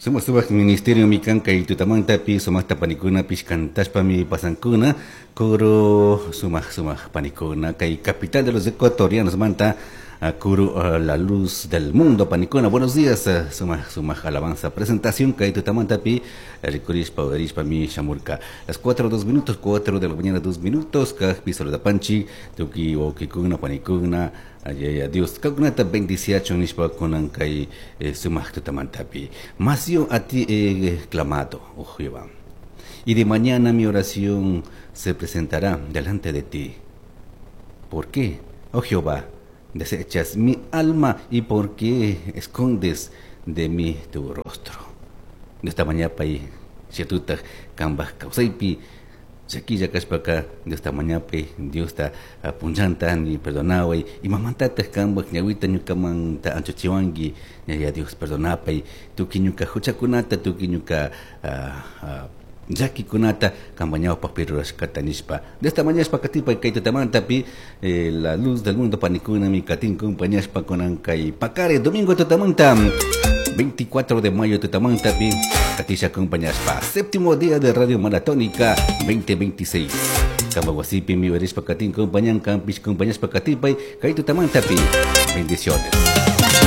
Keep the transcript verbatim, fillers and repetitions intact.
Sumak sumak ministerio mi kan kay tutamantapi sumakta panikunapish kantashpami pasankuna coro sumak sumak panikuna kay capital de los ecuatorianos manta coro la luz del mundo panikuna. Buenos días, sumak sumak alabanza presentación kay tutamantapi rikurishpa udarishpa mi shamurka. Las cuatro dos minutos, cuatro de la mañana dos minutos, kajpi saludapanchi tuki wawkikuna panikuna. Ay, Dios, kakunata bendiciachun nishpa kunan kay eh, sumak tutamantapi. Mas yo a ti he clamado, oh Jehová, y de mañana mi oración se presentará delante de ti. ¿Por qué, oh Jehová, desechas mi alma y por qué escondes de mí tu rostro? De esta mañana pay shatuta kambaj kawsaypi llakilla kashpaka Diosta mañapay Diosta punllanta ni perdonaway imamantataq kambaj ñawita ñukamanta anchuchiwanki ñaya Dios perdonapay tukuy ñuka huchakunata tukuy ñuka llakikunata kamba ñawpaqpi rurashkata nishpa. De esta mañashpa katipay kay tutamantapi eh, la luz del mundo panikunami katin kumpañashpa kunan kay pakare domingo tutamanta veinticuatro de mayo tutamantapi katisha kumpañashpa séptimo día de Radio Maratónica veinte veintiséis. Kamba wasipi mi werishpa katin kumpañan kampish kumpañashpa katipay kay tutamantapi. Bendiciones.